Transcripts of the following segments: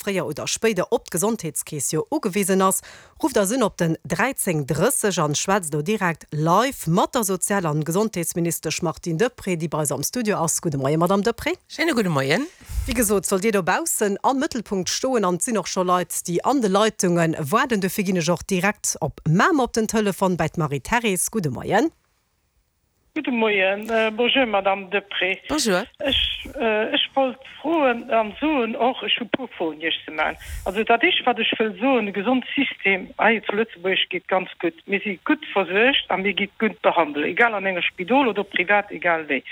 fréier oder spéider op d'Gesondheetskeess jo ugewisen ass. Rufft eis un op den 13 30 an schwätzt elo direkt live mat der Sozial an Gesondheetsministesch Martine Deprez, déi bei eis am Studio ass. Gudde Moien, Madame Deprez. Schéine gudde Moien. Wéi gesot, sollt Dir dobaussen am Mëttelpunkt stoen an et sinn och scho Leit, déi an de Leitunge waarden. Dofir ginn ech och direkt op Mamer op den Telefon bäi d'Marie-Thérèse. Gudde Moien. Gudde Moien. Bonjour Madame Deprez. Bonjour. Ech, ech wollt froen an soen och, ech hu puer Froen Iech ze maachen. Also dat éischt wat ech wëll soen, de Gesondssystem hei zu Lëtzebuerg geet ganz gutt. Mir si gutt versuergt a mir gi gutt behandelt, egal an enger Spidol oder privat, egal wéi.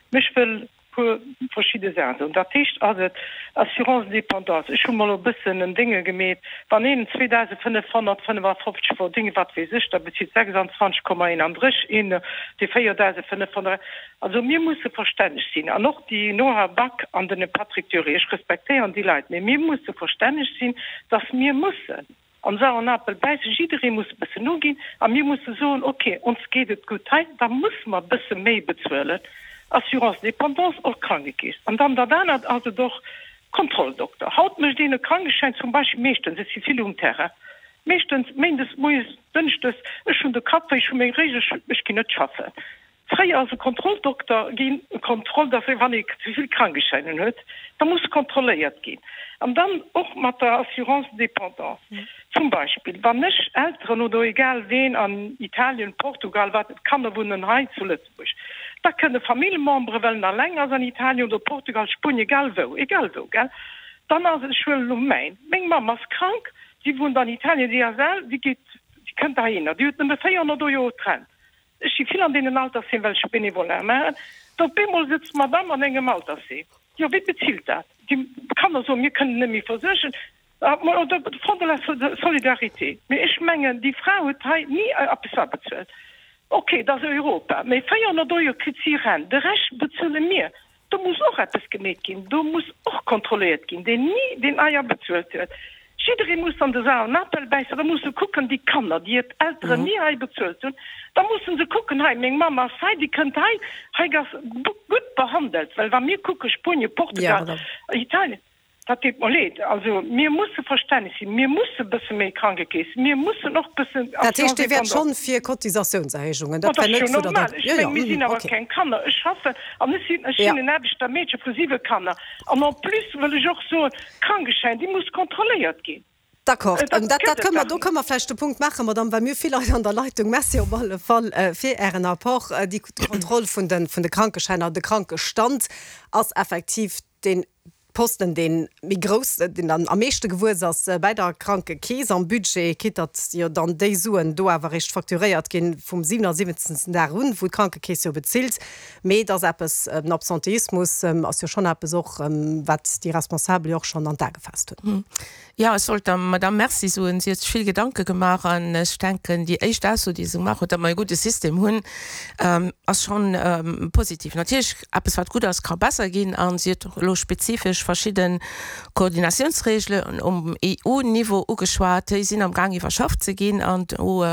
Mä ech wëll puer verschidde Saachen soen. Dat éischt ass et, Assurance dépendance. Ech hu mol e bëssen en Dénge gemeet, wann een 2.555 verdéngt, wat weess ech, da bezilt 26,31 een dee 4.500. Also mir musse verstänneg sinn, an och déi Nora Back an den Patrick Dury, ech respektéieren déi Leit, mee mir musse verstänneg sinn, dass mir mussen, Am sauren Apel bäissen, jidderee muss e bëssen noginn a mir musse soen, ok, ons geet et gutt hei, da musse mer e bësse méi bezuelen, Assurance dépendance, och Krankekeess. An dann dat anert ass et och Kontrolldokter. Haut mécht een e Krankeschäin zum Beispill meeschtens, ech si vill um Terrain, meeschtens méindes moies, dënschdes, ech hunn de Kapp wéi, ech hu meng Réisch, ech ginn net schaffen. Fréier ass e Kontrolldokter ginn, e Kontroll, dass wann ee ze vill Krankeschäinen huet, da muss kontrolléiert ginn. An dann och mat der Assurance dépendance. Zum Beispill, wann ech Elteren oder egal ween an Italien, Portugal, wat, d'Kanner wunnen hei zu Lëtzebuerg, da kënne Familljemembere, well en alleng ass an Italien oder Portugal, Spuenien, egal wou, egal wou, gell, dann ass et, ech huelen elo mäin, meng Mamm ass krank, si wunnt an Italien, si ass al, si geet, si kënnt heihinner, déi huet nëmme 400 Euro d'Rent. Ech si vill an deenen Altersheem, well ech Bénévolat maachen. Da op eemol sëtzt d'Madame an engem Altersheem. Jo, wie bezilt dat? Déi Kanner soen, mir kënnen net méi versuergen. Oder de Fonds de la solidarité. Mee ech mengen, déi Fra huet hei ni eppes abezuelt. Ok, et ass Europa, mee 400 Euro kritt si Rent, de Rescht bezuele mir. Do muss och eppes gemeet ginn, do muss och kontrolléiert ginn, deen ni deen Eier bezuelt huet. Jidderee muss an de sauren Apel bäissen. Da musse kucken, déi Kanner, déi hir Elteren ni hei bezuelt hunn, da musse se kucken, hei meng Mamm ass hei, déi kënnt hei, hei ass gutt behandelt. Well wa mir kucke Spuenien, Portugal, Italien, Dat deet mer leed. Also, mir musse verstänneg sinn. Mir musse bësse méi Krankekeess, mir mussen och bëssen Dat heescht, Dir wäert schonn fir Cotisatiounserhéijungen? Dat wär net vun der. Dat ass jo normal. Ech meng, mir sinn awer keng Kanner. Ech schaffen an ech sinn, ech sinn en Aarbechtermeedche vu siwe Kanner. An en plus wëll ech och soen, Krankeschäin, déi muss kontrolléiert ginn. D'accord. Dat, dat kënne mer, do kënne mer vläicht de Punkt maachen, Madame, well mir hu vill Leit an der Leitung. Merci op alle Fall fir Ären Apport. Déi Kontroll vun de, vun de Krankeschäiner, de Krankestand ass effektiv deen Posten, dee méi grouss, deen dann am meeschte gewuess ass bäi der Krankekeess am Budget, quitte datt jo dann déi Suen do awer eréischt facturéiert ginn vum 77. Dag un, wou d'Krankekeess jo bezilt. Mee et ass eppes, den Absenteismus ass jo schonn eppes och, wat déi Responsabel jo och schonn an d'A gefaasst hunn. Jo, ech wollt der Madamm Merci soen. Si huet sech vill Gedanke gemaach an ech denken, déi éischt Ausso, déi se gemaach huet, datt mer e gudde System hunn, ass schonn positiv. Natierlech, eppes wat gutt ass, ka besser ginn a si huet och elo spezifesch verschidde Koordinatiounsregelen um EU-Niveau ugeschwat. Déi sinn am Gaang iwwerschafft ze ginn an do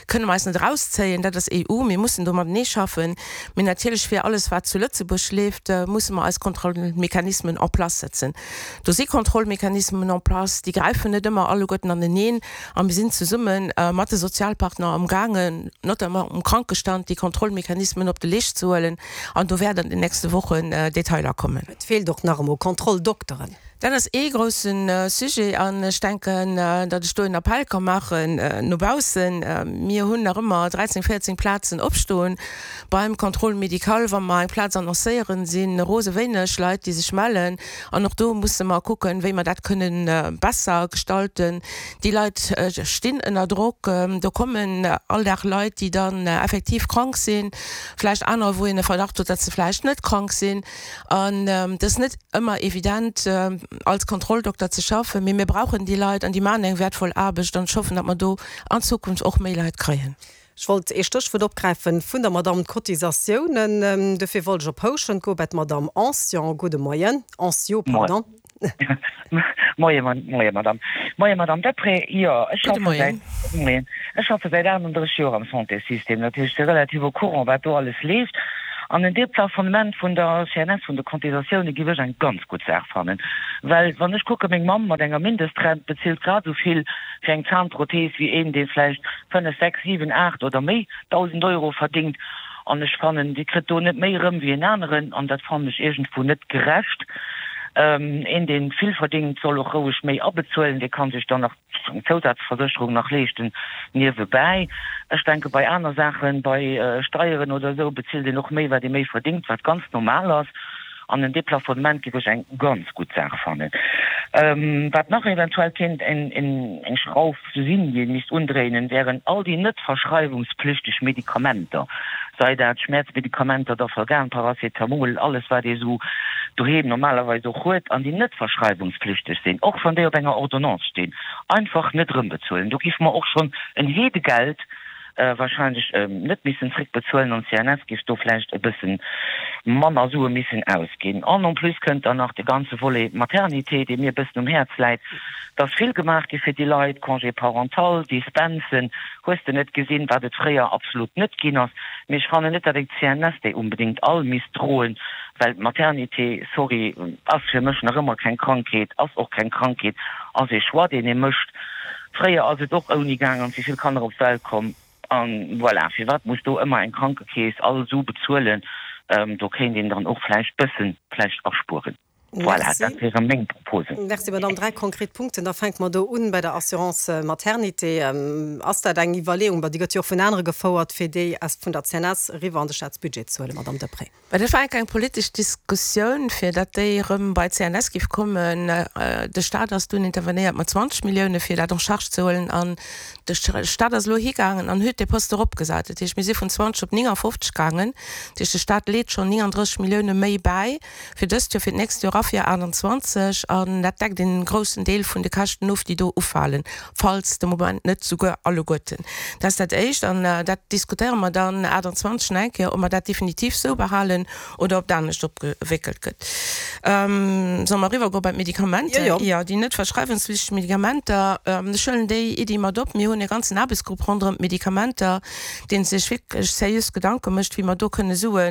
kënne mer eis net erauszéien. Dat ass EU, mir mussen do matenee schaffen. Mee natierlech fir alles wat zu Lëtzebuerg leeft, musse mer eis Kontrollmechanismen en place setzen. Do si Kontrollmechanismen en place, déi gräifen net ëmmer alleguerten aneneen a mir sinn zesumme mat de Sozialpartner amgaangen, notamment um Krankestand, déi Kontrollmechanismen op de Leescht ze huelen an do wäert an den nächste Wochen Detailer kommen. Et feelt och nach emol Kontrolldokteren. Dat ass ee grousse Sujet an ech denken, datt ech do en Appell ka maachen no baussen. Mir hunn nach ëmmer 13, 14 Plazen opstoen beim Contrôle médical. Wa mer eng Plaz annoncéieren, si rose wéineg Leit, déi sech mellen. An och do musse mer kucken, wéi mer dat kënnen besser gestalten. Déi Leit stinn ënner Drock. Do kommen all Dag Leit, déi dann effektiv krank sinn, vläicht anerer, wou een e Verdacht huet, datt se vläicht net krank sinn. An et ass net ëmmer evident, als Kontrolldokter ze schaffen. Mee mir brauchen déi Leit an déi maachen eng wäertvoll Aarbecht. An ech hoffen, datt mer do an Zukunft och méi Leit kréien. Ech wollt ee Stéchwuert opgräifen vun der Madamm, d'Cotisatiounen. Dofir wollt ech op Houschent goe bei d'Madamm Ancion. Gudde Moien. Anciaux, pardon. Moien, Moien, Madamm. Moien, Madamm Deprez. Jo, ech schaffe säit, moien, ech schaffe säit 38 Joer am Santéssystem. Dat heescht, ech si relativ au courant, wat do alles leeft. An en Deplafonnement vun der CNS, vun de Cotisatioune géif ech eng ganz gutt Saach fannen. Well wann ech kucke meng Mamm mat enger Mindestrent bezilt grad esou vill fir eng Zahnprothese wéi een, dee vläicht 5, 6, 7, 8 oder méi 1.000 Euro verdingt. An ech fannen, déi kritt do net méi erëm wéi en aneren. An dat fannen ech iergendwou net gerecht. Een, dee vill verdingt, soll och roueg méi abezuelen. Dee ka sech dann nach eng Zousazversécherung nach leeschten niewebäi. Ech denke bei aner Saachen, bei Steieren oder esou, bezilt een och méi, wat ee méi verdingt, wat ganz normal ass. An en Deplafonnement géif ech eng ganz gutt Saach fannen. Wat nach eventuell kéint eng Schrauf sinn, déi ee misst undréinen, wären all déi net verschreiwungspflichteg Medikamenter, sei dat Schmäerzmedikamenter, Dafalgan, Paracetamol, alles wat ee sou doheem normalerweis och huet, an déi net verschreiwungspflichteg sinn, och wann déi op enger Ordonnance stinn, einfach net erëmbezuelen. Do géife mer och schonn en Heedegeld wahrscheinlech net missen zréckbezuelen an d'CNS géif do vläicht e bësse manner Sue missen ausginn. An en plus kënnt dann nach de ganze Volet Maternité, dee mir e bëssen um Häerz läit. Et ass vill gemaach gi fir déi Leit, Congé parental, Dispensen, hues de net gesinn, wat et fréier absolut net ginn ass. Mee ech fannen net, datt eng CNS déi unbedéngt all misst droen, well d'Maternité, sorry, ass fir mech nach ëmmer keng Krankheet, ass och keng Krankheet, ass ee Choix, deen ee mécht. Fréier ass et och ouni gaang an si vill Kanner op d'Welt komm. An voilà, firwat muss do ëmmer eng Krankekeess all Su bezuelen? Do kéint een dann och vläicht bëssen vläicht aspueren. Voilà, dat wiere meng Proposen. Merci, Madame. Dräi konkret Punkten. Da fänke mer do un bei der Assurance maternité. Ass dat eng Iwwerleeung, bon, déi gëtt jo och vun anere gefouert, fir déi aus vun der CNS eriwwer an de Staatsbudget ze huelen, Madame Deprez? Mä dat war eng politesch Diskussioun, fir datt déi erëm bei d'CNS géif kommen. De Stat ass dunn intervenéiert mat 20 Millioune fir dat en charge ze huelen an de Stat ass elo higaangen an huet dee Poste eropgesat. Dat heescht, mir si vun 20 op 59 gaangen. Dat heescht, de Stat leet schonn 39 Millioune méi bäi fir dëst Joer, fir d'nächst Joer a fir 28. An dat deckt een groussen Deel vun de Käschten of, déi do ufalen. falls de Moment net souguer alleguerten. Dat ass dat Éischt. An dat diskutéiere mer dann 28 nach eng Kéier, ob mer dat definitiv esou behalen oder ob dat anescht opgewéckelt gëtt. Solle mer eriwwergoe bei d'Medikamenter? Jo, jo. Déi net verschreiwungsflichteg Medikamenter, ech huelen déi Iddi mat op. Mir hunn e ganzen Aarbechtsgrupp ronderëm d'Medikamenter, dee sech wierklech seriös Gedanke mécht, wéi mer do kënne Sue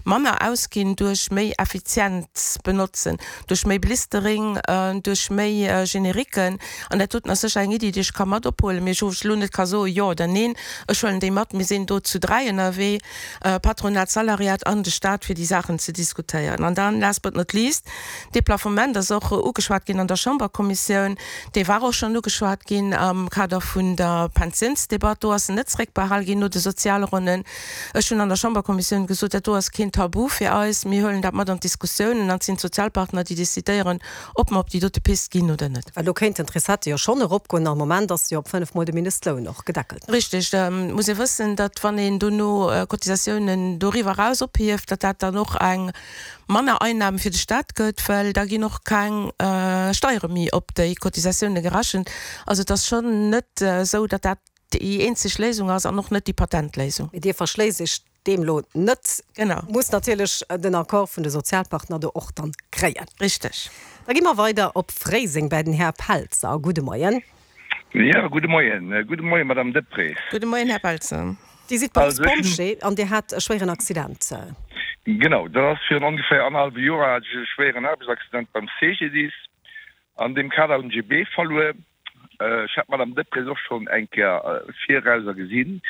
manner ausginn duerch méi effizient benotzen, duerch méi Blistering, duerch méi Generiquen. An dat doten ass sécher eng Iddi, déi ech ka mat ophuelen, mee wou ech elo net ka soen, jo oder neen. Ech huelen déi mat. Mir sinn do zu dräi ënnerwee, Patronat, Salariat an de Stat, fir déi Saachen ze diskutéieren. An dann, last but not least, dee Plafonnement ass och ugeschwat ginn an der Chamberkommissioun. Dee war och schonn ugeschwat ginn am Kader vun der Pensiounsdebatt. Do ass en net zréckbehal ginn no de Sozialronnen. Ech hunn an der Chamberkommissioun gesot, dat do ass keen Tabu fir eis. Mir huelen dat mat an d'Diskussiounen an et sinn d'Sozialpartner, déi decidéieren, ob mer op déi dote Pist ginn oder net. Well do kéinten d'Recettë jo schonn eropgoen. Am Moment ass se jo op 5 Mol de Mindestloun och gedeckelt. Richtig. Et muss ee wëssen, datt wann een dono Cotisatiounen doriwwer eraus ophieft, datt dat dann och eng manner Einnahme fir de Stat gëtt, well da ginn och keng Steiere méi op déi Cotisatioune gerechent. Also et ass schonn net esou, datt dat déi eenzeg Léisung ass an och net déi Patentléisung. Mee Dir verschléisst Iech deem lo net. Genau. Muss natierlech den Accord vun de Sozialpartner do och dann kréien. Richteg. Da gi mer weider op Fréiseng bäi den Här Pelzer. Gudde Moien. Jo, gudde Moien. Gudde Moien, Madame Deprez. Gudde Moien, Här Pelzer. Dir sidd Beruffspompjee an Dir hat e schwéieren Accident. Genau, dat ass virun ongeféier annerhallwe Joer hat ech e schwéieren Aarbechtsaccident beim CGDIS. An deem Kader hunn ech e Bee verluer. Ech hat d'Madame Deprez och schonn eng Kéier virauser gesinn.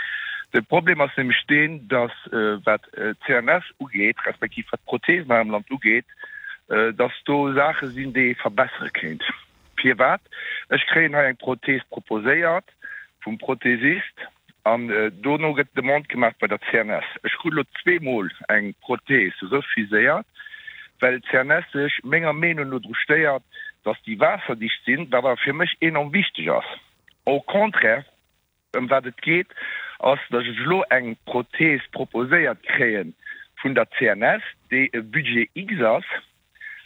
De Problem ass nämlech deen, datt, wat d'CNS ugeet, respektiv wat d'Prothesen hei am Land ugeet, datt do Saache sinn, déi ee verbessere kéint. Firwat? Ech kréien hei eng Prothese proposéiert vum Prothesist an dono gëtt d'Demande gemaach bei der CNS. Ech krut elo zweemol eng Prothese refuséiert, well d'CNS sech menger Meenung no dru stéiert, dass déi waasserdicht sinn, wat awer fir mech enorm wichteg ass. Au contraire, ëm wat et geet, ass, dass ech elo eng Prothese proposéiert kréie vun der CNS, déi e Budget X ass,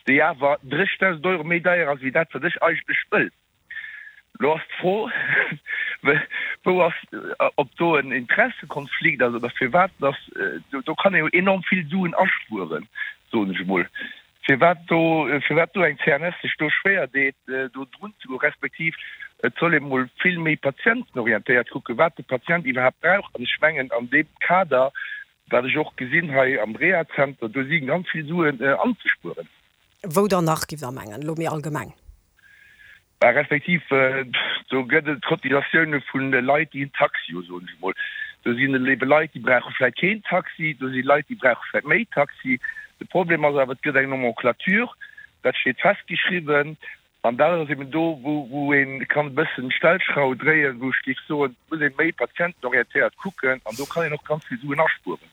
déi awer 30.000 Euro méi deier ass wéi dat, wat ech eigentlech wëll. Lo ass d'Fro, wou ass, ob do en Interessekonflikt ass oder firwat dass, do kann ee jo enorm vill Suen aspueren, soen ech emol, firwat do, firwat do eng CNS sech do schwéier deet, do drun ze goen, respektiv et soll ee mol vill méi patientenorientéiert kucken, wat de Patient iwwerhaapt brauch. An ech mengen, an deem Kader. Wat ech och gesinn hei am Rehazenter, do si ganz vill Suen anzespueren. Wou dann nach, giff Der mengen, elo méi allgemeng? Bah, respektiv do gëtt et Cotisatioune vu Leit, déi en Taxi hu, soen ech emol. Do sinn ebe Leit, déi brauche vläicht keen Taxi, do si Leit, déi brauche vläicht méi Taxi. De Problem ass awer, et gëtt eng Nomenclature, dat steet festgeschriwwen. An dat ass eben do, wou ee kann e bëssen d'Stellschrauw dréien, wou ech géif soen, et muss ee méi patientenorientéiert kucken an do kann een och ganz vill Suen aspueren.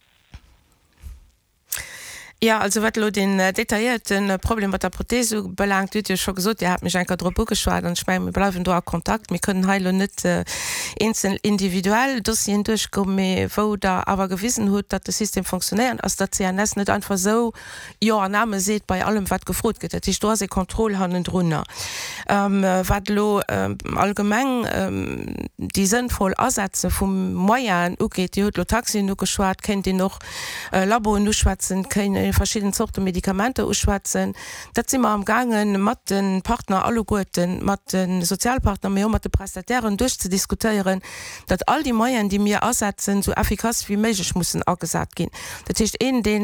Jo, also wat elo deen detailléierte Problem mat der Prothese ubelaangt, Dir hutt jo scho gesot, Dir hat mech eng Kéier drop ugeschwat an ech mengen, mir bleiwen do a Kontakt. Mir kënnen hei elo net eenzel individuell Dossieren duerchgoen, mee wou Der awer gewisen hutt, datt de System fonctionnéiert, ass, datt d'CNS net einfach esou Jo an Amen seet bei allem, wat gefrot gëtt. Dat heescht, do ass ee Contrôle hannendrunner. Wat elo allgemeng déi sënnvoll Asetze vu Moyenen ugeet, Dir hutt elo Taxien ugeschwat, kéint een och Laboen uschwätzen, kéint ee verschidden Zorte Medikamenter uschwätzen. Dat si mer amgaange mat de Partner alleguerten, mat de Sozialpartner, mee och mat de Prestatairen duerchzediskutéieren, datt all déi Moyenen, déi mir asetzen, esou effikass wéi méiglech mussen agesat ginn. Dat heescht, een, dee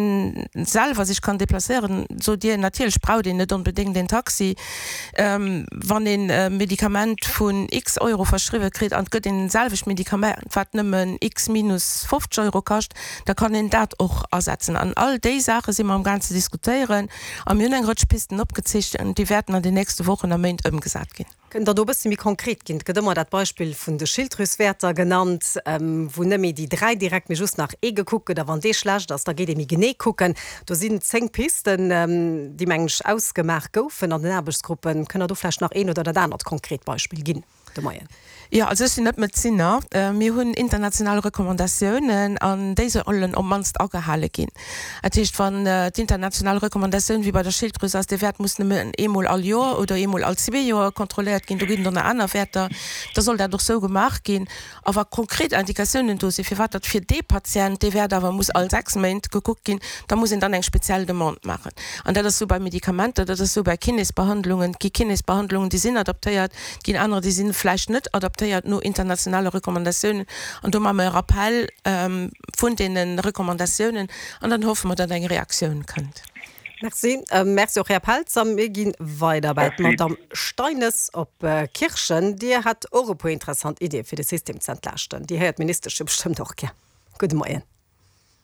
selwer sech kann deplacéieren, sot Dir, natierlech braucht een net onbedéngt een Taxi. Wann een e Medikament vun x Euro verschriwwe kritt an et gëtt een selwecht Medikament, wat nëmmen x minus 50 Euro kascht, da kann een dat och asetzen. An all déi Saache si mer amgaang ze diskutéieren a mir hunn eng Rëtsch Pisten opgezeechent, déi wäerten an den nächste Wochen a Méint ëmgesat ginn. Kënnt Der do e bësse méi konkret ginn? Et gëtt ëmmer dat Beispill vun de Schilddrüswäerter genannt, wou net méi déi 3 direkt, mee just nach ee gekuckt gëtt. A wann dee schlecht ass, da geet ee méi genee kucken. Do sinn 10 Pisten, déi, mengen ech, ausgemaach goufen an den Aarbechtsgruppen. Kënnt Der do vläicht nach een oder dat anert konkret Beispill ginn de Moien? Jo, also ech sinn net Medezinner. Mir hunn international Recommandatiounen an déi sollen op d'mannst agehale ginn. Dat heescht, wann d'international Recommandatioun wéi bei der Schilddrüs ass, dee Wäert muss nëmmen eemol all Joer oder eemol all zwee Joer kontrolléiert ginn, do ginn et och nach aner Wäerter, da soll dat och sou gemaach ginn. A wa konkret Indikatiounen do sinn, firwat datt fir dee Patient dee Wäert awer muss all 6 Méint gekuckt ginn, da muss een dann eng speziell Demande maachen. An dat ass sou bei Medikamenter, dat ass sou bei Kinésbehandlungen. Et gi Kinésbehandlungen, déi sinn adaptéiert, Et ginn anerer, déi si vläicht net adaptéiert no internationale Recommandatiounen. An do maache mer e Rappell vun deene Recommandatiounen an dann hoffe mer, datt eng Reaktioun kënnt. Merci. Merci och, Här Pelzer. Mir gi weider bei d'Madamm Steines op Kirchen. Dir hat och e puer interessant Iddie fir de System ze entlaaschten. Déi héiert d'Ministesch jo bestëmmt och gär. Gudde Moien.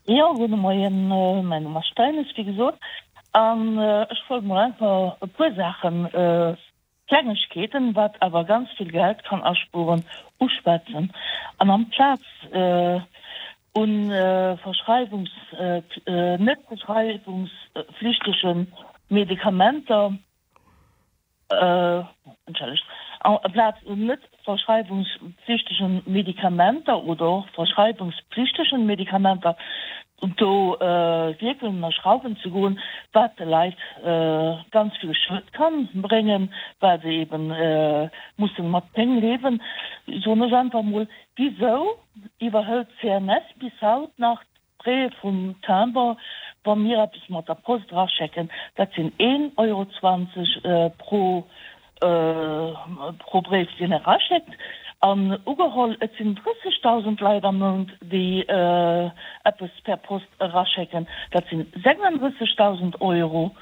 Jo, gudde Moien. Mäin Numm ass Steines, wéi gesot. An ech wollt mol einfach e puer Saachen Klengegkeeten, wat awer ganz vill Geld kann aspueren, uschwätzen. An amplaz un verschreiwungs-, net verschreiwungsflichtege Medikamenter, entschëllegt, amplaz un net verschreiwungsflichtege Medikamenter oder och verschreiwungspflichtegen Medikamenter do wierkeln a Schrauwen ze goen, wat de Leit ganz vill Schued kann bréngen, well se eben mussen mat Péng liewen, soen ech einfach mol, wisou iwwerhëlt d'CNS bis haut nach D'Frais vum Timbre, wa mir eppes mat der Post eraschécken, dat sinn een Euro 20 pro pro Bréif, deen eraschéckt. An ugeholl, et sinn 30.000 Leit am Mount, déi eppes per Post eraschécken, dat sinn 36.000 Euro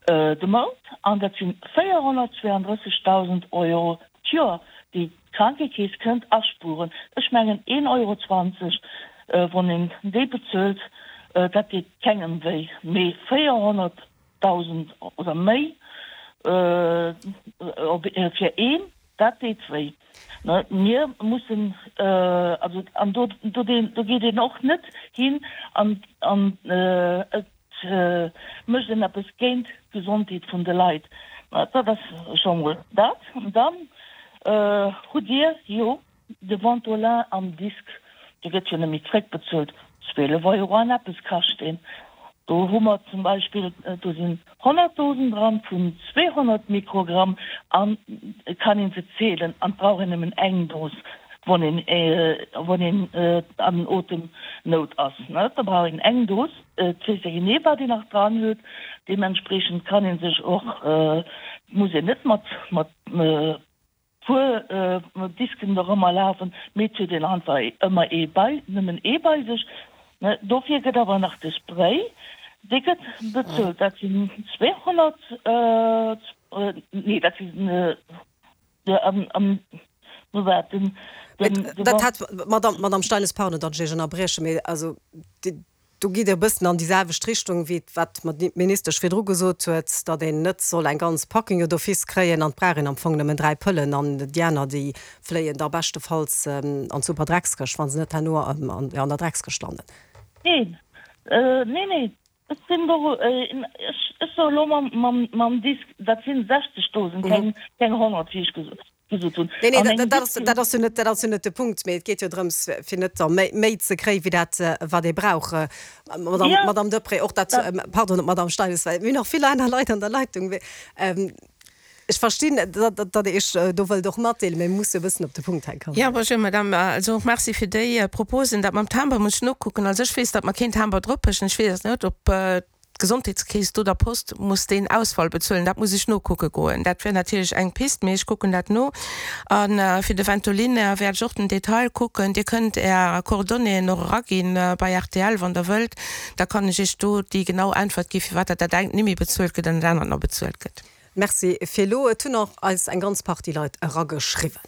de Mount an dat sinn 432.000 Euro d'Joer, déi D'Krankekeess kënnt aspueren. Ech mengen een Euro 20, wann een déi bezuelt, dat deet kengem wéi, mee 400.000 oder méi fir een, dat deet wéi. Mir mussen also, an do geet een och net hin an et mécht een eppes géint d'Gesondheet vun de Leit. Dat ass scho mol dat. Dann hutt Dir jo de Ventolin am Disk, dee gëtt jo net méi zréckbezuelt, 12 Euro an eppes kascht deen. Do hu mer zum Beispill, do sinn 100 Dosen dran vun 200 Mikrogramm an et kann een se zielen an et brauch een nëmmen eng Dos, wann een, wann een an Otemnout ass, da brauch een eng Dos. Et weess ee genee, wat een nach dran huet. Deementspreechend kann ee sech och, muss een net mat mat puer Disken dorëmmer lafen, mee et huet een einfach ëmmer ee bei, nëmmen ee bei sech. Dofir gëtt awer nach de Spray, dee gëtt bezuelt, dat sinn 200, nee dat sinn, no wat den, den. Dat hat, Madame, Madame Steines, pardon, datt ech Iech ënnerbriechen, mee also do gitt Dir e bëssen an déi selwecht Richtung wéi wat d'Ministesch virdru gesot huet, datt een net soll eng ganz Packung jo d'office kréien an et brauch een am Fong nëmmen 3 Pëllen an déi aner déi fléien da beschtefalls an d'Superdreckskëscht, wa se net herno an der Dreckskëscht landen. Neen, neen, neen, ech sinn do, ech soe elo mam Disk, dat sinn 60 Dosen, keng 100, wéi ech gesot hunn. Nee, nee, dat ass, dat ass jo net, dat ass jo net de Punkt, mee et geet jo drëms, fir net da méi, méi ze kréien, wéi dat, wat ee brauch. Madame, Madame Deprez, och dat, pardon, Madame Steines, well mir hunn nach vill aner Leit an der Leitung. Ech verstinn, datt Der Iech do wëllt och matdeelen, mee mir musse jo e bëssen op de Punkt hei kommen. Jo, bonjour Madame. Also och Merci fir déi Proposen. Dat mam Timber muss ech nokucken. Also ech weess, datt mer keen Timber droppechen. Ech weess net, ob d'Gesondheetskeess do der Post muss deen Ausfall bezuelen. Dat muss ech nokucke goen. Dat wär natierlech eng Pist, mee ech kucken dat no. A fir de Ventolin wäert ech och den Detail kucken. Dir kënnt Är Coordonnéeën och eraginn bei rtl, wann Der wëllt. Da kann ech Iech do déi genau Äntwert gi firwat dat dat engt nimmi bezuelt gëtt an dat anert nach bezuelt gëtt. Merci fir elo. Et hunn och eis eng ganz Partie Leit erageschriwwen.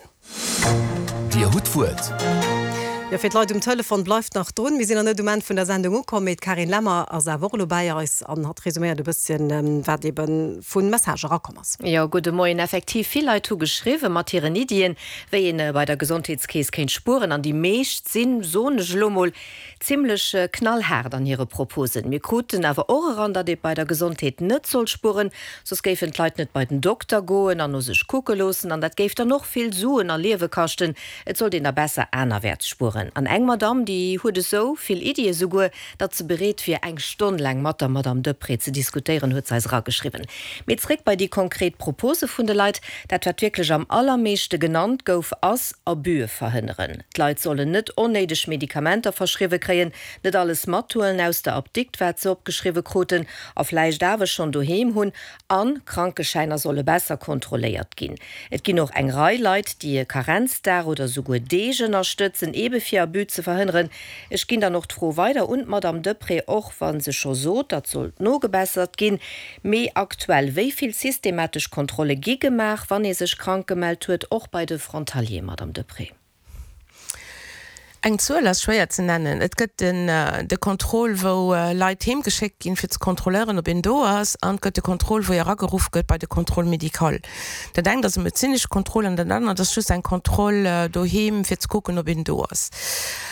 Dir hutt d'Wuert. Jo, fir d'Leit um Telefon, bleift nach drun. Mir sinn nach net um Enn vun der Sendung ukomm, mee d'Carine Lemmer ass awer och elo bäi eis an hatt resuméiert e bësschen, wat ebe vu Message erakomm ass. Jo, gudde Moien. Effektiv, vill Leit hu geschriwwe mat hiren Iddien, wéi een bei der Gesondheetskeess kéint spueren. An déi meescht sinn, soen ech elo mol, Zimlech knallhaart an hire Proposen. Mir kruten awer och eran, datt ee bei der Gesondheet net soll spueren, soss géifen d'Leit net bei den Dokter goen an no sech kucke loossen an dat géif dann och vill Suen a Liewe kaschten. Et sollt een da besser anerwäerts spueren. An eng Madamm, déi huet esou vill Iddie souguer, datt se bereet wier, eng Stonn laang mat der Madamm Deprez ze diskutéieren, huet se eis erageschriwwen. Mee zréck bei déi konkret Propose vun de Leit. Dat wat wierklech am allermeeschte genannt gouf, ass, Abuse verhënneren. D'Leit sollen net onnéideg Medikamenter verschriwwe kréien, net alles mathuelen aus der Apdikt, wat se opgeschriwwe kruten a vläicht awer schonn doheem hunn, a Krankeschäiner solle besser kontrolléiert ginn. Et ginn och eng Rei Leit, déi e Karenzdag oder souguer Deeg ënnerstëtzen, eebe fir Abus ze verhënneren. Ech ginn dann och d'Fro weider un d'Madamm Deprez, och wa se scho sot, datt sollt nogebessert ginn. Mee aktuell, wéi vill systematesch Kontrolle gi gemaach, wann ee sech krank gemellt huet, och bei de Frontalier, Madamm Deprez? Eng Zuel ass schwéier ze nennen. Et gëtt de Contrôle, wou Leit heem geschéckt ginn, fir ze kontrolléieren, ob een do ass, an et gëtt de Contrôle, wou ee erageruff gëtt bei de Contrôle médical. Dat engt ass e medezinesche Contrôle an dat anert ass just eng Kontroll doheem, fir ze kucken, ob een do ass.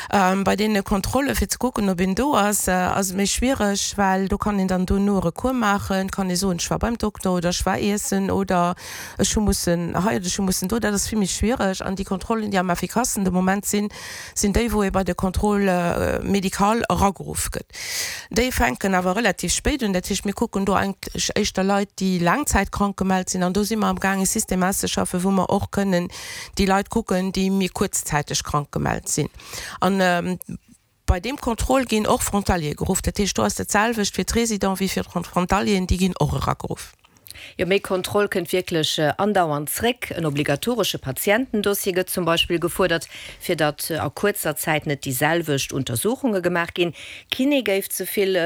Bei deene Kontrolle fir ze kucken, ob een do ass, ass et méi schwiereg, well do kann een dann dono e Recours maachen, kann ee soen, ech war beim Dokter oder ech war iessen oder ech hu mussen hei oder ech hu mussen do. Dat ass vill méi schwiereg. An déi Kontrollen, déi am effikassten de Moment sinn, sinn déi, wou ee bei de Contrôle médical erageruff gëtt. Déi fänken awer relativ spéit un. Dat heescht, mir kucken do eigentlech éischter Leit, déi laangzäitkrank gemellt sinn. An do si mer amgaang e System auszeschaffen, wou mer och kënnen déi Leit kucken, déi méi kuerzzäiteg krank gemellt sinn. An bei deem Contrôle ginn och Frontaliere geruff. Dat heescht, do ass dat selwecht fir d'Résidents wéi fir d'Frontalieren, déi ginn och erageruff. Jo, méi Kontroll kënnt wierklech andauernd zréck. En obligatoresche Patientendossier gëtt zum Beispill gefuerdert, fir datt a kuerzer Zäit net déi selwecht Untersuchunge gemaach ginn. Kiné géif ze vill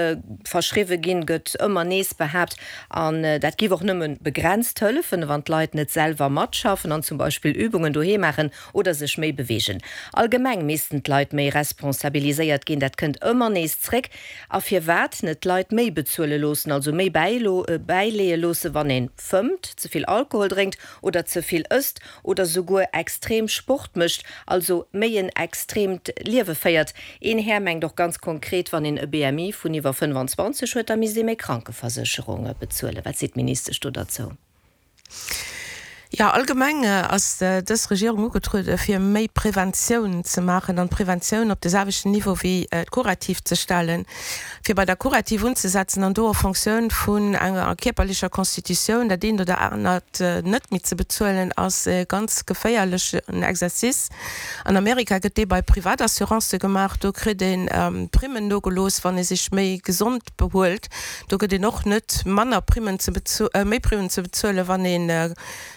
verschriwwe ginn, gëtt ëmmer nees behaapt. An dat géif och nëmme begrenzt hëllefen, wann d'Leit net selwer matschaffen an zum Beispill Übungen doheem maachen oder sech méi beweegen. Allgemeng missten d'Leit méi responsabiliséiert ginn, dat kënnt ëmmer nees zréck. A firwat net d'Leit méi bezuele loossen, also méi bäileeë loossen, wann een fëmmt, ze vill Alkohol drénkt oder ze vill ësst oder souguer extrem Sport mécht, also méi en extremt Liewe féiert. Een Här mengt och ganz konkret, wann een e BMI vun iwwer 25 huet, da misst ee méi Krankeversécherung bezuelen. Wat seet d'Ministesch do derzou? Jo, allgemeng ass dës Regierung ugetruede fir méi Preventioun ze maachen an d'Preventioun op de selwechten Niveau wéi d'Kurativ ze stellen, fir bei der Kurativ unzesetzen an do en Fonctioun vun enger kierperlecher Constitutioun dat eent oder anert net méi ze bezuelen, ass e ganz geféierlechen Exercice. An Amerika gëtt dee bei Privatassurancë gemaach, do kritt ee Primmen nogelooss, wann ee sech méi gesond behuelt. Do gëtt een och net manner Primmen ze méi Primmen ze bezuelen, wann ee.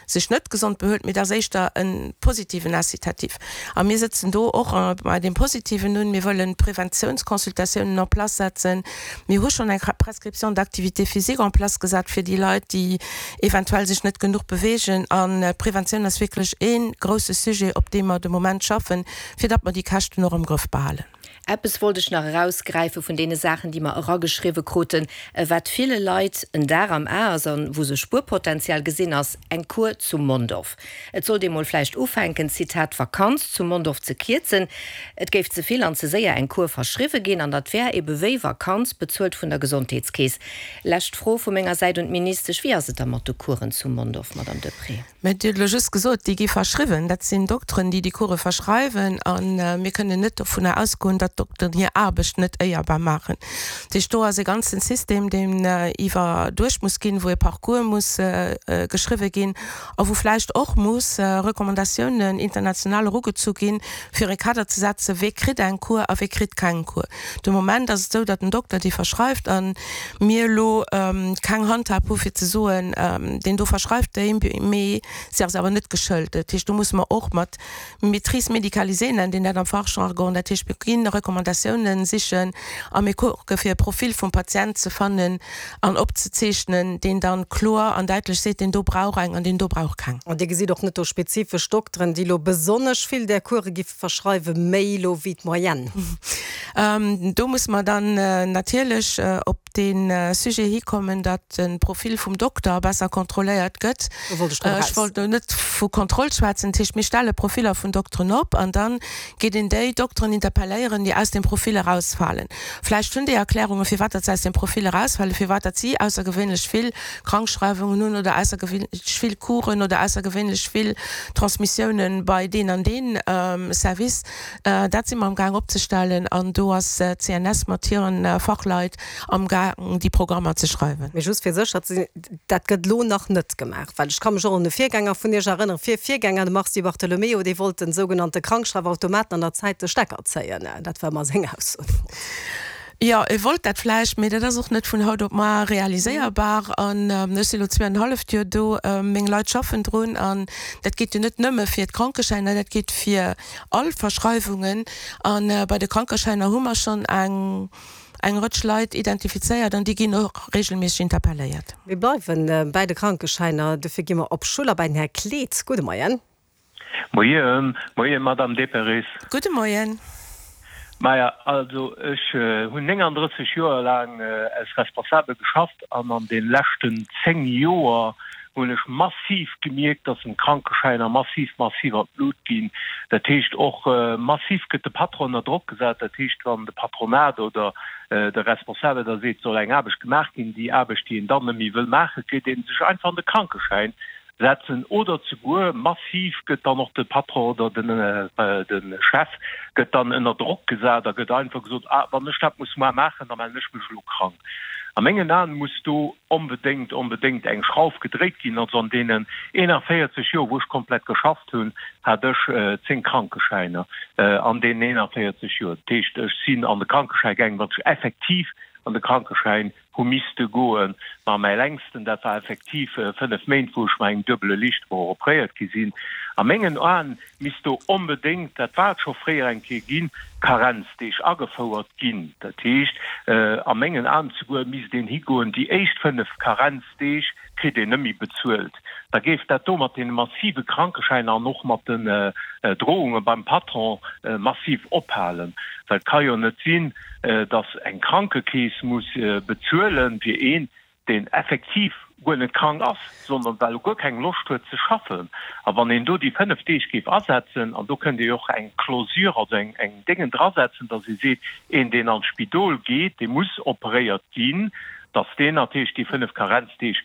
sech net gesond behuelt, mee dat ass éischter e positiven Incitatif. A mir sëtzen do och bei deem Positiven un. Mir wëllen Preventiounsconsultatiounen en place setzen. Mir hu schonn eng Prescription d'activité physique en place gesat fir déi Leit, déi eventuell sech net genuch beweegen. An d'Preventioun ass wierklech ee grousse Sujet, op deem mer de Moment schaffen, fir datt mer déi Käschten och am Grëff behalen. Eppes wollt ech nach erausgräife vun deene Saachen, déi mer erageschriwwe kruten, wat ville Leit en Dar am A ass an wou se Spuerpotenzial gesinn, ass eng Cour zu Mondorf. Et sollt ee mol vläicht ufänken, Zitat, d'Vakanz zu Mondorf ze kierzen. Et géif ze vill an ze séier eng Cour verschriwwe ginn an dat wär ebe wéi Vakanz, bezuelt vun der Gesondheetskeess. Lescht Fro vu menger Säit un d'Ministesch, Wéi ass et da mat de Coursen zu Mondorf, Madame Deprez? Mä Dir hutt elo just gesot, déi gi verschriwwen. Dat sinn Dokteren, déi déi Course verschreiwen. A mir kënnen net dovunner ausgoen, datt d'Dokteren hir Aarbecht net éierbar maachen. Dat heescht, do ass e ganzen System, deen iwwerduecht muss ginn, wou e Parcours muss geschriwwe ginn a wou vläicht och muss Recommandatiounen international erugezu ginn, fir e Kader ze setzen, wee kritt eng Cours a wee kritt keng Cours. De Moment ass et esou, datt den Dokter déi verschreift a mir elo keng Handhab hu fir ze soen, deen do verschreift déi, mee se ass awer net geschëlt. Dat heescht, do musse mer och mat Maîtrise médicalisée nennt een dat am Fachjargon, dat heescht mir ginn Recommandatiounen sichen a mir kucke fir e Profil vum Patient ze fannen an opzezeechnen, deen dann kloer an däitlech seet, deen do brauch eng an deen do brauch keng. An Dir gesitt och net do spezifesch Dokteren, déi elo besonnesch vill där Course gi Verschreiwe méi elo wéi d'Moyenne. Do musse mer dann natierlech op dee Sujet hikommen, datt de Profil vum Dokter besser kontrolléiert gëtt. Do wollt ech drop eraus. Ech wollt elo net vu Kontroll schwätzen. Dat heescht, mir stelle Profiller vun Dokteren op an da geet een déi Dokteren interpelléieren, déi aus deem Profil erausfalen. Vläicht hunn déi Erklärungen, firwat datt se aus deem Profil erausfalen, firwat datt si aussergewéinlech vill Krankschreiwungen hunn oder aussergewéinlech vill Coursen oder aussergewéinlech vill Transmissiounen bei deen an deen Service. Dat si mer am Gaang opzestellen an do ass d'CNS mat hiren Fachleit am Gaang déi Programmer ze schreiwen. Mee just fir sécher ze sinn, dat gëtt elo nach net gemaach, well ech ka mech och un e Virgänger vun Iech erënneren, Virvirgänger, de Mars Di Bartolomeo, dee wollt den sougenannte Krankschreifautomaten an der Zäit de Stecker zéien. Dat war ëmmer seng Ausso deemools. Jo, e wollt dat vläicht, mee dat ass och net vun haut op mar realiséierbar. An ech si lo zweeanenhalleft Joer do, meng Leit schaffen drun. An dat geet jo net nëmme fir d'Krankeschäiner, dat geet fir all Verschreiwungen. A bei de Krankeschäiner hu mer schonn eng eng Rëtsch Leit identifizéiert an déi ginn och regelméisseg interpelléiert. Mir bleiwe bäi de Krankeschäiner, dofir gi mer op Schuller bei den Här Kleet. Gudde Moien. Moien, moien Madame Deperis. Gudde Moien. Maja, also ech hunn 39 Joer laang als Responsabel geschafft an an de leschten 10 Joer hunn ech massiv gemierkt, dass den Krankeschäiner massiv, massiv an d'Lut ginn. Dat heescht och massiv gëtt de Patron ënner Drock gesat. Dat heescht, wann de Patronat oder de Responsabel da seet, et soll eng Aarbecht gemaach ginn, déi Aarbecht, déi een dann net méi wëll maachen, kritt ee sech einfach an de Krankeschäin setzen oder zeguer massiv gëtt dann och de Patron oder de Chef gëtt dann ënner Drock gesat a gëtt einfach gesot, ah wann ech dat muss muar maachen, da mellen ech mech elo krank. A mengen Aen muss do onbedéngt, onbedéngt eng Schrauf gedréit ginn. Also an deenen 41 Joer wou ech komplett geschafft hunn, hat ech 10 Krankeschäiner an deenen 41 Joer. Dat heescht ech sinn an de Krankeschäi gaangen, wann ech effektiv an de Krankeschäin hu misste goen. Ma mäi längsten, dat war effektiv 5 Méint, wou ech mat engem duebele Liichtbroch opréiert gi sinn. A mengen Aen misst do onbedéngt, dat war et scho fréier eng Kéier ginn, Karenzdeeg agefouert ginn. Dat heescht, a mengen Aen zeguer misst een higoen, déi éischt 5 Karenzdeeg kritt een net méi bezuelt. Da géif dat do mat deene massive Krankeschäiner an och mat den Drohunge beim Patron massiv ophalen. Well et ka jo net sinn, datt eng Krankekeess muss bezuelen fir een, deen effektiv guer net krank ass, sondern well e guer keng Loscht huet ze schaffen. A wann een do déi 5 Deeg géif asetzen, an do kënnt ee jo och eng Clausure, also eng Déngen drasetzen, datt ee seet, een deen an d'Spidol geet, dee muss operéiert ginn, datt deen natierlech déi 5 Karenzdeeg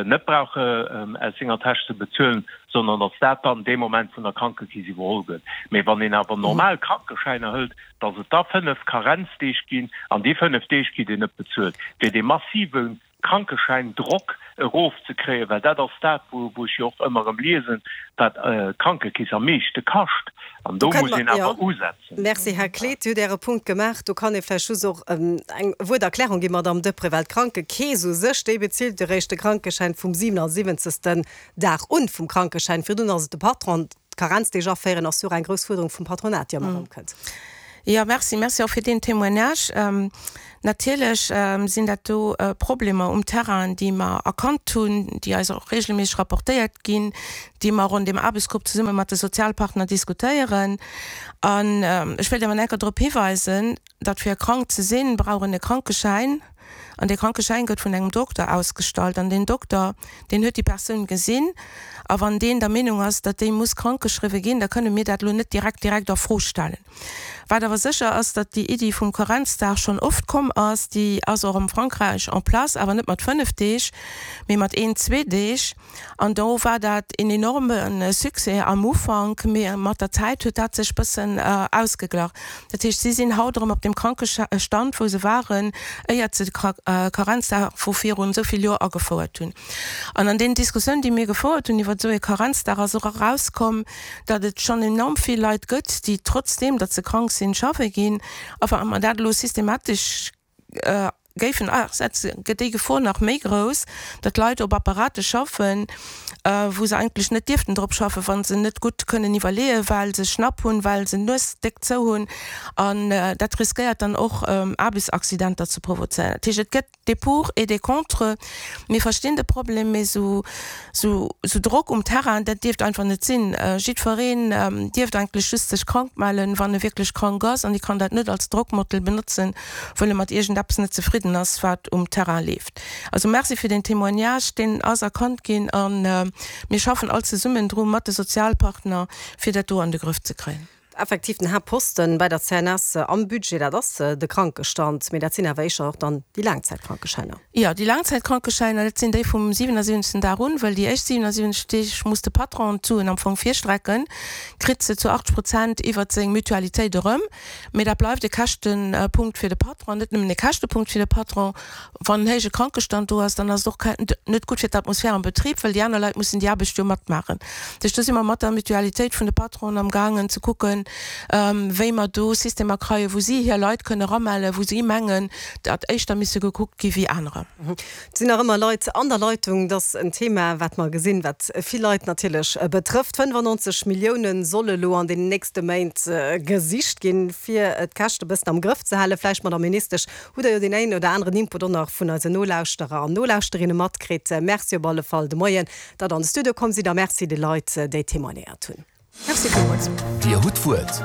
net brauch aus senger Täsch ze bezuelen, sondern datt dat dann dee Moment vun der Krankekeess iwwerholl gëtt. Mee wann een awer normal Krankeschäiner hëlt, datt et da 5 Karenzdeeg ginn, an déi 5 Deeg kritt een net bezuelt, fir dee massive. Krankeschäindrock erofzekréien, well dat ass dat, wou ech jo och ëmmer erëm liesen, wat d'Krankekeess am meeschte kascht. An do muss een awer usetzen. Merci, Här Kleet. Dir hutt Äre Punkt gemaach. Do kann ee vläicht just och eng Wuert Erklärung ginn, Madamm Deprez, well d'Krankekeess u sech, déi bezilt eréischt de Krankeschäin vum 77. Dag un vum Krankeschäin. Virdrun ass et de Patron. D'Karenzdeeg aféieren ass jo och eng grouss Fuerderung vum Patronat, déi ëmmer erëm kënnt. Jo, merci. Merci och fir deen Témoignage. Natierlech sinn dat do Problemer um Terrain, déi mer erkannt hunn, déi eis och regelméisseg rapportéiert ginn, déi mer och an deem Aarbechtsgrupp zesumme mat de Sozialpartner diskutéieren. An ech wéilt awer nach eng Kéier drop hiweisen, datt fir krank ze sinn, brauch een e Krankeschäin. An dee Krankeschäin gëtt vun engem Dokter ausgestallt. An deen Dokter, deen huet déi Persoun gesinn. A wann deen der Meenung ass, datt déi muss krankgeschriwwe ginn, da kënne mir dat elo net direkt direkt a Fro stellen. Wat awer sécher ass, datt déi Iddi vum Karenzdag schonn oft komm ass. Déi ass och am Frankräich en place, awer net mat 5 Deeg, mee mat een, zwee Deeg. An do war dat een enorme Succès am Ufank, mee mat der Zäit huet dat sech bëssen ausgeglach. Dat heescht, si sinn haut erëm op deem Krankestand, wou se waren, éiert se de Karenzdag vu virun esou vill Joer agefouert hunn. An an deenen Diskussiounen, déi mir gefouert hunn iwwer esou ee Karenzdag, ass och erauskomm, datt et schonn enorm vill Leit gëtt, déi trotzdeem, datt se krank sinn, schaffe ginn. A wa mer dat elo systematesch géifen asetzen, gëtt déi Gefor nach méi grouss, datt Leit op Apparate schaffen, wou se eigentlech net dierften drop schaffen, wa se net gutt kënnen iwwerleeën, well se Schnapp hunn, well se d'Nues déck zou hunn. An dat riskéiert dann och Aarbechtsaccidenter ze provozéieren. Dat heescht, et gëtt des Pour et des Contre. Mir verstinn de Problem, mee esou Drock um Terrain, dat dierft einfach net sinn. Jiddwereen dierft eigentlech just sech krank mellen, wann e wierklech krank ass, an e kann dat net als Drockmottel benotzen, wëll e mat iergendeppes net zefridden ass, wat um Terrain leeft. Also Merci fir deen Témoignage, deen ass erkannt ginn a mir schaffen all zesummen dru mat de Sozialpartner, fir dat do an de Grëff ze kréien. Effektiv, den Haaptposten bei der CNS am Budget, dat ass de Krankestand, mee dat sinn awer éischer och dann déi Laangzäitkrankeschäiner. Jo, déi Laangzäitkrankeschäiner, dat sinn déi vum 77. Dag un, well déi éischt 77 Deeg muss de Patron d'Suen am Fong virstrecken, kritt se zu 80 Prozent iwwert seng Mutualitéit erëm. Mee dat bleift e Käschtepunkt fir de Patron, net nëmmen e Käschtepunkt fir de Patron. Wann en héije Krankestand do ass, dann ass et och net gutt fir d'Atmosphär am Betrib, well déi aner Leit mussen déi Aarbecht jo matmaachen. Dat heescht, do si mer mat der Mutualitéit vun de Patronen am gaangen ze kucken, wéi mer do Systemer kreien, wou si hir Leit kënne eramellen, wou si mengen, datt éischter misse gekuckt gi wéi anerer. Et sinn nach ëmmer Leit an der Leitung. Dat ass en Thema, wat mer gesinn, wat vill Leit natierlech betrëfft. 95 Millioune solle lo an den nächste Méint gesicht ginn, fir d'Käschte e bëssen am Grëff ze halen. Vläicht, Madamm Ministesch, hutt Der jo deen een oder aneren Input och nach vun eisen Nolauschterer an Nolauschtererinne matkritt. Merci op alle Fall de Moien, datt Der an de Studio komm sidd a Merci de Leit, déi témoignéiert hunn. Merci villmools. Dir hutt d'Wuert.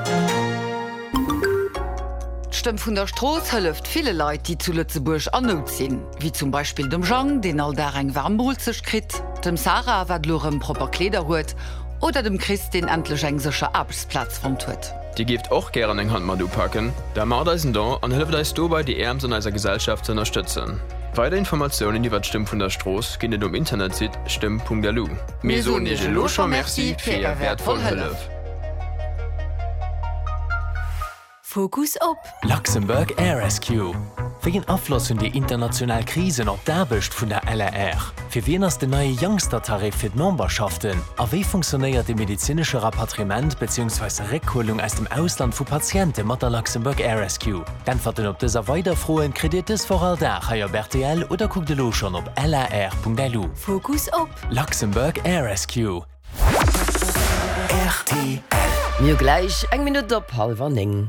D'Stëmm vun der Strooss hëlleft ville Leit, déi zu Lëtzebuerg an Nout sinn. Wéi zum Beispill dem Jang, deen all Dag eng waarm Moolzecht kritt, dem Sarah, wat elo erëm propper Kleeder huet, oder dem Chris, deen endlech eng sécher Aarbechtsplaz fonnt huet. Dir géift och gären eng Hand mat upaken? Da maacht eis en Don an hëlleft eis dobei déi Äermst an eiser Gesellschaft ze ënnerstëtzen. Weider Informatiounen iwwert d'Stëmm vun der Strooss ginn et um Internetsite stëmm.lu. Mir soen Iech elo scho Merci fir Är wäertvoll Hëllef. Fokus op. Luxembourg Air Rescue, Wéi en Afloss hunn déi international Krisen op d'Aarbecht vun der LAR? Fir wien ass den neie Youngster-Tarif fir d'Memberschaften? A wéi funktionéiert de medezinesche Rapatriement beziehungsweise Réckhuelung aus dem Ausland vu Patiente mat der Luxembourg Air Rescue? D'Äntwerten op dës a weider Froen kritt Dir dës Woch all Dag hei op rtl oder kuckt elo schonn op lar.lu. Fokus op. Luxembourg Air Rescue. Rtl. Mir hu gläich eng Minutt op hallwer 9.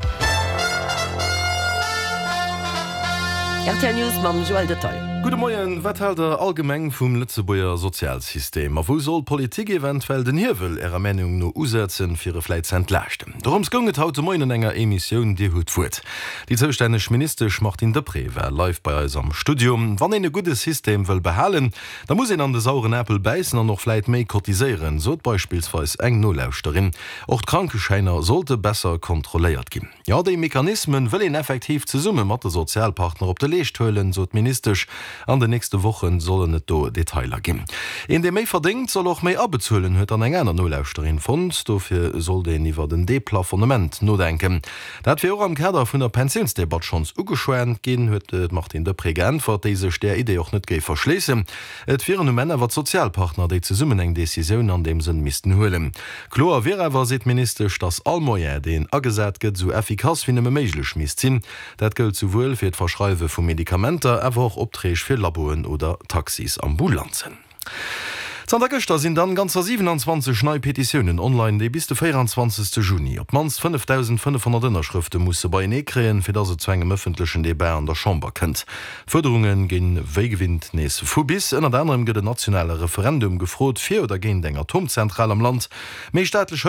Rtl News mam Joël Detaille. Gudde Moien, wat haalt der allgemeng vum Lëtzebuerger Sozialsystem? A wou soll d'Politik eventuell den Hiewel ärer Meenung no usetzen, fir e vläit ze entlaaschten? Dorëms goung et haut de Moien an enger Emissioun Dir hutt d'Wuert. Déi zoustänneg Ministesch Martine Deprez war live bei eis am Studio. Wann een e gudde System wëll behalen, Da muss een an de sauren Apel bäissen an och vläit méi cotiséieren, sot beispillsweis eng Nolauschterin. Och d'Krankeschäiner sollte besser kontrolléiert ginn. Jo, déi Mechanismen wëll een effektiv zesumme mat de Sozialpartner op de Leescht huelen, sot d'Ministesch. An den nächste Woche sollen et do Detailer ginn. Een, dee méi verdéngt, soll och méi abezuelen, huet dann eng aner Nolauschterin fonnt. Dofir sollt een iwwert en Deplafonnement nodenken. Dat wier och am Kader vun der Pensiounsdebatt schonns ugeschwat ginn, huet d'Martine Deprez geäntwert, déi sech där Idee och net géif verschléissen. Et wieren um Enn awer d'Sozialpartner, déi zesummen eng Decisioun an deem Sënn missten huelen. Kloer wier awer, seet d'Ministesch, datt all Moyen, deen agesat gëtt, esou effikass wéi nëmme méiglech misst sinn. Dat gëllt souwuel fir d'Verschreiwe vu Medikamenter, awer och Opträg fir Laboen oder Taxisambulanzen. Zanter gëschter sinn dann ganzer 27 nei Petitiounen online, déi bis de 24 Juni op d'mannst 5.500 Ënnerschrëfte musse beienee kréien, fir dass et zu engem ëffentlechen Debat an der Chamber kënnt. D'Fuerderunge ginn wéi gewinnt nees vu bis. Ënnert anerem gëtt en nationale Referendum gefrot fir oder géint eng Atomzentral am Land, méi staatlech Hëllef.